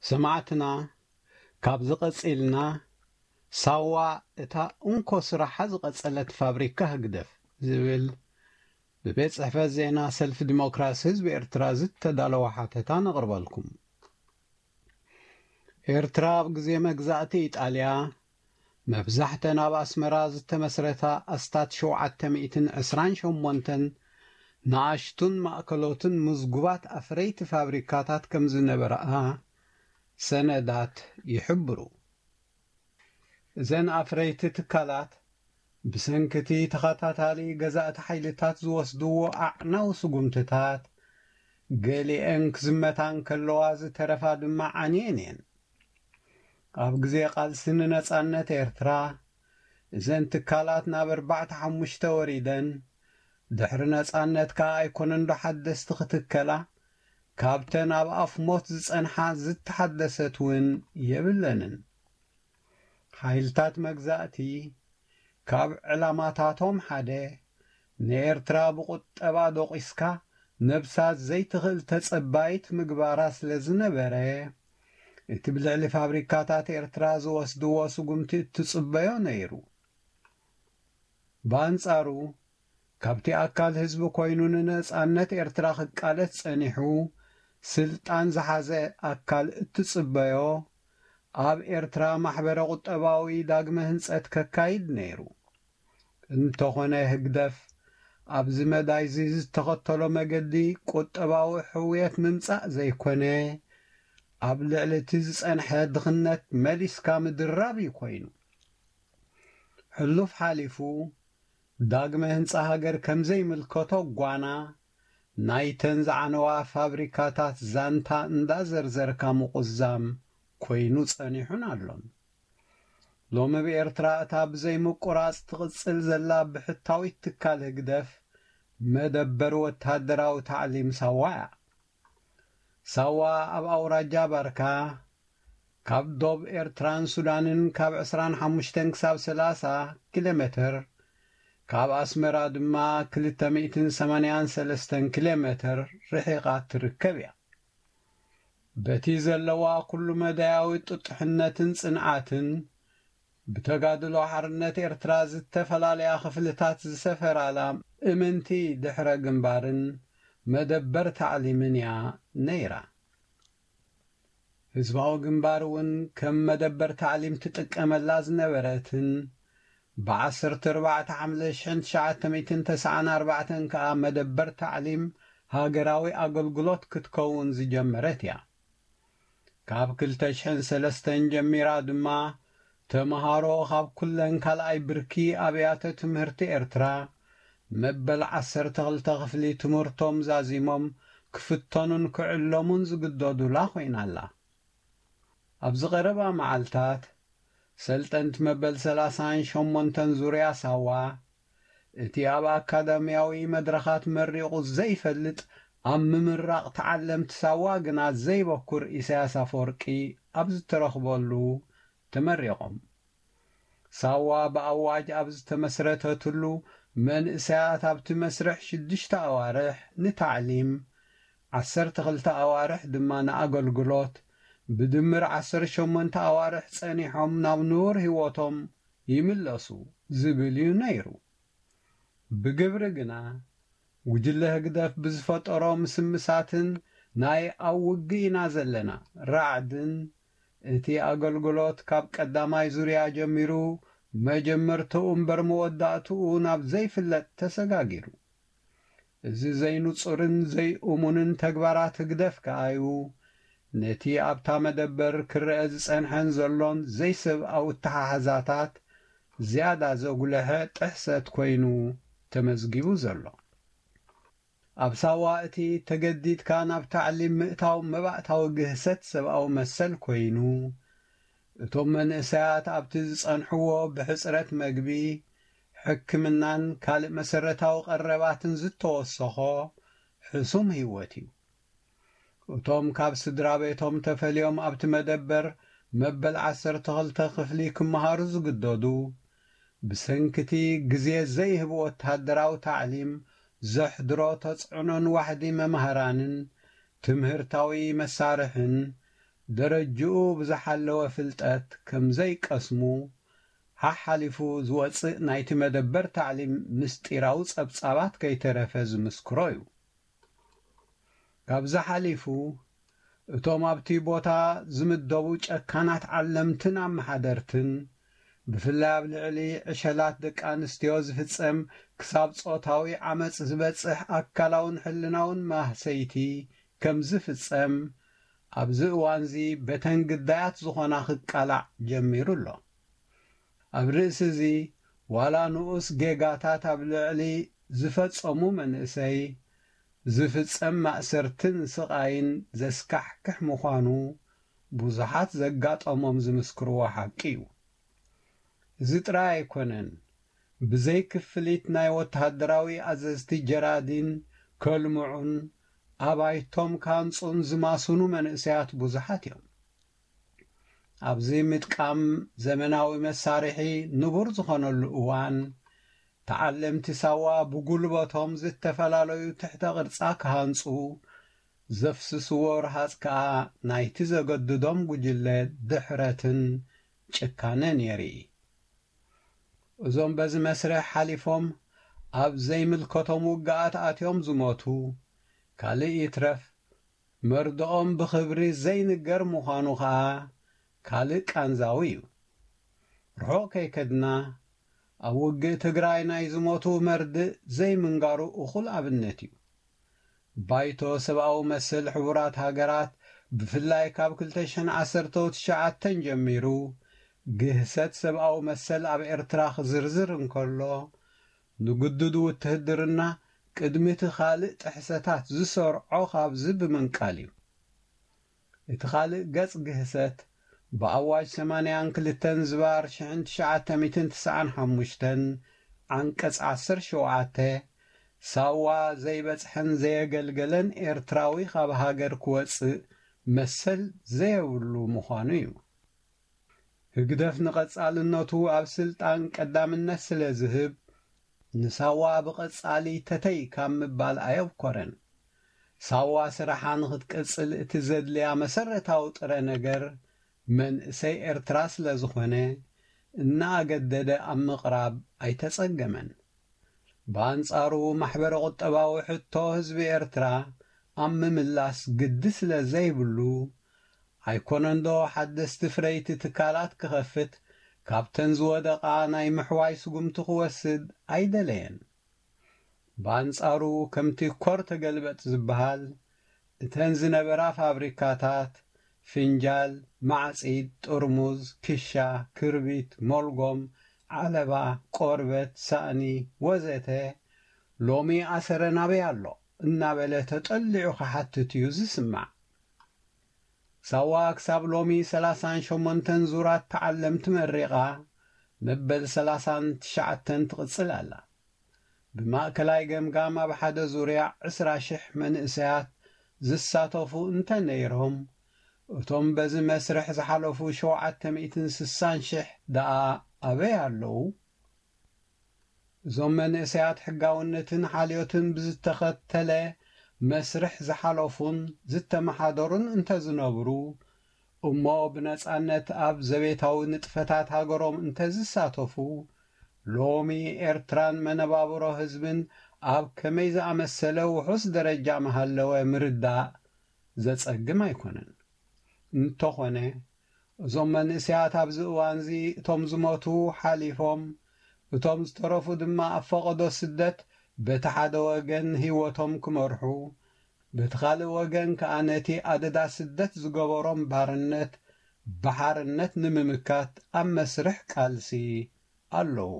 ሰማዕትና፣ ካብዚ ቀጺልና ሳዋ እታ እንኮ ስራሓ ዝቐጸለት ፋብሪካ ህግደፍ ዝብል ብቤት ጽሕፈት ዜና ሰልፊ ዲሞክራሲ ህዝቢ ኤርትራ ዝተዳለወ ሓተታ ነቕርበልኩም። ኤርትራ ኣብ ግዜ መግዛእቲ ኢጣልያ መብዛሕተን ኣብ ኣስመራ ዝተመስረታ ኣስታት ሸውዓተ ሚእትን ዕስራን ሸሞንተን ንኣሽቱን ማእከሎትን ምዝጉባት ኣፍረይቲ ፋብሪካታት ከም ዝነበራኣ ሰነዳት ይሕብሩ። እዘን ኣፍረይቲ ትካላት ብሰንኪ እቲ ተኸታታሊ ገዛእቲ ሓይልታት ዝወስድዎ ኣዕናዊ ስጉምትታት፣ ገሊአን ክዝመታ እንከለዋ ዝተረፋ ድማ ዓንየን እየን። ኣብ ግዜ ቃልሲ ንነጻነት ኤርትራ፣ እዘን ትካላት ናብ ኣርባዕተ ሓሙሽተ ወሪደን፣ ድሕሪ ነጻነት ከኣ ኣይኮነን ዶ ሓደስቲ ክትከላ፣ ካብተን ኣብ ኣፍ ሞት ዝጸንሓ ዝተሓደሰት እውን የብለንን። ሓይልታት መግዛእቲ ካብ ዕላማታቶም ሓደ ንኤርትራ ብቁጠባ ዶቂስካ ነብሳ ዘይትኽእል ተጸባይት ምግባራ ስለ ዝነበረ፣ እቲ ብልዕሊ ፋብሪካታት ኤርትራ ዝወስድዎ ስጉምቲ እትጽበዮ ነይሩ። ብኣንጻሩ፣ ካብቲ ኣካል ህዝቢ ኮይኑ ንነጻነት ኤርትራ ክቃለስ ጸኒሑ ስልጣን ዝሓዘ ኣካል እትጽበዮ፣ ኣብ ኤርትራ ማሕበረ ቁጠባዊ ዳግመ ህንጸት ከካይድ ነይሩ። እንተኾነ ህግደፍ ኣብዚ መዳይዚ ዝተኸተሎ መገዲ ቁጠባዊ ሕውየት ምምጻእ ዘይኮነ፣ ኣብ ልዕሊ እቲ ዝጸንሐ ድኽነት መሊስካ ምድራብ እዩ ኮይኑ። ሕሉፍ ሓሊፉ ዳግመ ህንጻ ሃገር ከም ዘይምልከቶ ጓና ናይተን ዝዓነዋ ፋብሪካታት ዛንታ እንዳዘርዘርካ ምቁዛም ኮይኑ ጸኒሑን ኣሎን። ሎሚ ብኤርትራ እታ ብዘይ ምቁራጽ ትቕጽል ዘላ ብሕታዊት ትካል ህግደፍ መደበር ወተሃደራዊ ታዕሊም ሳዋ እያ። ሳዋ ኣብ ኣውራጃ ባርካ ካብ ዶብ ኤርትራን ሱዳንን ካብ ዕስራን ሓሙሽተን ክሳብ ሰላሳ ኪሎ ሜትር፣ ካብ ኣስመራ ድማ ክልተ ሚእትን ሰማንያን ሰለስተን ኪሎ ሜትር ርሒቓ ትርከብ እያ። በቲ ዘለዋ ኩሉ መዳያዊ ጥጡሕነትን ጽንዓትን፣ ብተጋድሎ ሓርነት ኤርትራ ዝተፈላለያ ክፍልታት ዝሰፈራላ እምንቲ ድሕረ ግንባርን መደበር ታዕሊምን እያ ነይራ። ህዝባዊ ግንባር እውን ከም መደበር ታዕሊም ትጥቀመላ ዝነበረትን፣ ብዓሰርተ ኣርባዕተ ሓምለ ሽሕን ትሽዓተ ሚእትን ተስዓን ኣርባዕተን ከኣ መደበር ታዕሊም ሃገራዊ ኣገልግሎት ክትከውን ዝጀመረት እያ። ካብ ክልተ ሽሕን ሰለስተን ጀሚራ ድማ፣ ተመሃሮ ካብ ኩለን ካልኣይ ብርኪ ኣብያተ ትምህርቲ ኤርትራ፣ መበል ዓሰርተ ክልተ ክፍሊ ትምህርቶም ዛዚሞም ክፍተኑን ክዕለሙን ዝግደዱላ ኮይና ኣላ። ኣብዚ ቀረባ መዓልታት፣ ሰልጠንቲ መበል ሰላሳን ሸሞንተን ዙርያ ሳዋ፣ እቲ ኣብ ኣካዳሚያዊ መድረኻት መሪቑ ዘይፈልጥ፣ ኣብ ምምራቕ ተዓለምቲ ሳዋ ግና ዘይበኩር ኢሳያስ ኣፈወርቂ ኣብ ዝተረኽበሉ ተመሪቖም። ሳዋ ብኣዋጅ ኣብ ዝተመስረተትሉ፣ መንእሰያት ኣብቲ መስርሕ ሽዱሽተ ኣዋርሕ ንታዕሊም፣ ዓሰርተ ክልተ ኣዋርሕ ድማ ንኣገልግሎት፣ ብድምር ዓሰርተ ሸሞንተ ኣዋርሕ ጸኒሖም ናብ ንቡር ህይወቶም ይምለሱ ዝብል እዩ ነይሩ። ብግብሪ ግና፣ ጉጅለ ህግደፍ ብዝፈጠሮ ምስምሳትን ናይ ኣብ ውግእ ኢና ዘለና ራዕድን፣ እቲ ኣገልግሎት ካብ ቀዳማይ ዙርያ ጀሚሩ መጀመርትኡ እምበር መወዳእትኡ ናብ ዘይፍለጥ ተሰጋጊሩ። እዚ ዘይንጹርን ዘይእሙንን ተግባራት ህግደፍ ከኣዩ፣ ነቲ ኣብታ መደበር ክረአ ዝጸንሐን ዘሎን ዘይሰብኣዊ ኣተሓሕዛታት ዝያዳ ዘጉልሐ ጥሕሰት ኮይኑ ተመዝጊቡ ዘሎ። ኣብ ሳዋ እቲ ተገዲድካ ናብ ታዕሊም ምእታው መባእታዊ ግህሰት ሰብኣዊ መሰል ኮይኑ፣ እቶም መንእሰያት ኣብቲ ዝጸንሕዎ ብሕጽረት መግቢ፣ ሕክምናን ካልእ መሰረታዊ ቀረባትን ዝተወሰኾ ሕሱም ህይወት እዩ። እቶም ካብ ስድራ ቤቶም ተፈልዮም ኣብቲ መደበር መበል ዓሰርተ ክልተ ክፍሊ ክመሃሩ ዝግደዱ፣ ብሰንኪ እቲ ግዜ ዘይህብ ወተሃደራዊ ታዕሊም ዘሕድሮ ተጽዕኖን ዋሕዲ መማህራንን ትምህርታዊ መሳርሕን ደረጅኡ ብዝሓለወ ፍልጠት ከም ዘይቀስሙ፣ ሓሓሊፉ ዝወጽእ ናይቲ መደበር ታዕሊም ምስጢራዊ ጸብጻባት ከይተረፈ ዝምስክሮ እዩ። ካብዚ ሓሊፉ፣ እቶም ኣብቲ ቦታ ዝምደቡ ጨካናት ዓለምትን ኣመሓደርትን፣ ብፍላይ ኣብ ልዕሊ ዕሸላት ደቂ ኣንስትዮ ዝፍጸም ክሳብ ጾታዊ ዓመጽ ዝበጽሕ ኣካላውን ሕልናውን ማህሰይቲ ከም ዝፍጸም፣ ኣብዚ እዋንዚ በተን ግዳያት ዝኾና ክቃላዕ ጀሚሩ ኣሎ። ኣብ ርእሲ እዚ፣ ዋላ ንኡስ ጌጋታት ኣብ ልዕሊ ዝፈጸሙ መንእሰይ ዝፍጸም ማእሰርትን ስቓይን ዘስካሕክሕ ምዃኑ ብዙሓት ዘጋጠሞም ዝምስክርዎ ሓቂ እዩ። እዚ ጥራይ ኣይኮነን፣ ብዘይ ክፍሊት ናይ ወተሃደራዊ ኣዘዝቲ ጀራዲን ከልምዑን ኣባይቶም ካንጹን ዝማስኑ መንእሰያት ብዙሓት እዮም። ኣብዚ ምጥቃም ዘመናዊ መሳርሒ ንቡር ዝኾነሉ እዋን፣ ተዓለምቲ ሳዋ ብጉልበቶም ዝተፈላለዩ ትሕተ ቅርጻ ክሃንጹ ዘፍስስዎ ረሃጽ ከኣ ናይቲ ዘገድዶም ጉጅለ ድሕረትን ጭካነን የርኢ። እዞም በዚ መስርሕ ሓሊፎም ኣብ ዘይምልከቶም ውግኣት ኣትዮም ዝሞቱ፣ ካልእ ይትረፍ መርድኦም ብኽብሪ ዘይንገር ምዃኑ ኸኣ ካልእ ቃንዛዊ እዩ። ርሑቕ ከይከድና፣ ኣብ ውግእ ትግራይ ናይ ዝሞቱ መርድእ ዘይምንጋሩ እኹል ኣብነት እዩ። ባይቶ ሰብኣዊ መሰል ሕቡራት ሃገራት፣ ብፍላይ ካብ ክልተ ሽሕን ዓሰርተ ትሽዓተን ጀሚሩ፣ ግህሰት ሰብኣዊ መሰል ኣብ ኤርትራ ክዝርዝር እንከሎ፣ ንግዱድ ውትህድርና ቅድሚ እቲ ካልእ ጥሕሰታት ዝሰርዖ ካብዚ ብምንቃል እዩ። እቲ ካልእ ገጽ ግህሰት፣ ብኣዋጅ ሰማንያን ክልተን ዝባር ሽሕን ትሽዓተ ሚእትን ትስዓን ሓሙሽተን ዓንቀጽ ዓሰርተ ሸውዓተ፣ ሳዋ ዘይበጽሐን ዘየገልገለን ኤርትራዊ ካብ ሃገር ክወጽእ መሰል ዘየብሉ ምዃኑ እዩ። ህግደፍ ንቐጻልነቱ ኣብ ስልጣን ቀዳምነት ስለ ዝህብ፣ ንሳዋ ብቐጻሊ ተተይ ካብ ምባል ኣየብኮረን። ሳዋ ስራሓ ንኽትቅጽል እቲ ዘድልያ መሰረታዊ ጥረ ነገር መንእሰይ ኤርትራ ስለ ዝኾነ፣ እናኣገደደ ኣብ ምቕራብ ኣይተጸገመን። ብኣንጻሩ፣ ማሕበረ ቁጠባዊ ሕቶ ህዝቢ ኤርትራ ኣብ ምምላስ ግዲ ስለ ዘይብሉ፣ ኣይኮነንዶ ሓደስቲ ፍረይቲ ትካላት ክኸፍት፣ ካብተን ዝወደቓ ናይ ምሕዋይ ስጉምቲ ክወስድ ኣይደለየን። ብኣንጻሩ፣ ከምቲ ኮር ተገልበጥ ዝበሃል፣ እተን ዝነበራ ፋብሪካታት፣ ፍንጃል፣ ማዕጺድ፣ ጥርሙዝ፣ ክሻ፣ ክርቢት፣ ሞልጎም፣ ዓለባ፣ ቆርበት፣ ሳእኒ፣ ወዘተ፣ ሎሚ ኣሰረን ኣበይ ኣሎ? እናበለ ተጠሊዑ ክሓትት እዩ ዝስማዕ። ሳዋ ክሳብ ሎሚ ሰላሳን ሸሞንተን ዙራት ተዓለምቲ መሪቓ፣ መበል ሰላሳን ትሽዓተን ትቕጽል ኣላ። ብማእከላይ ገምጋም ኣብ ሓደ ዙርያ ዕስራ ሽሕ መንእሰያት ዝሳተፉ እንተ ነይሮም፣ እቶም በዚ መስርሕ ዝሓለፉ ሸውዓተ ሚእትን ስሳን ሽሕ ደኣ ኣበይ ኣለዉ? እዞም መንእሰያት ሕጋውነትን ሓልዮትን ብዝተኸተለ መስርሕ ዝሓለፉን ዝተመሓደሩን እንተ ዝነብሩ፣ እሞ ብነጻነት ኣብ ዘቤታዊ ንጥፈታት ሃገሮም እንተ ዝሳተፉ፣ ሎሚ ኤርትራን መነባብሮ ህዝብን ኣብ ከመይ ዝኣመሰለ ውሑስ ደረጃ ምሃለወ ምርዳእ ዘጸግም ኣይኮነን። እንተኾነ፣ እዞም መንእሰያት ኣብዚ እዋንዚ እቶም ዝሞቱ ሓሊፎም፣ እቶም ዝተረፉ ድማ ኣብ ፈቐዶ ስደት በቲ ሓደ ወገን ህይወቶም ክመርሑ፣ በቲ ካልእ ወገን ከኣ ነቲ ኣደዳ ስደት ዝገበሮም ባርነት ብሓርነት ንምምካት ኣብ መስርሕ ቃልሲ ኣለዉ።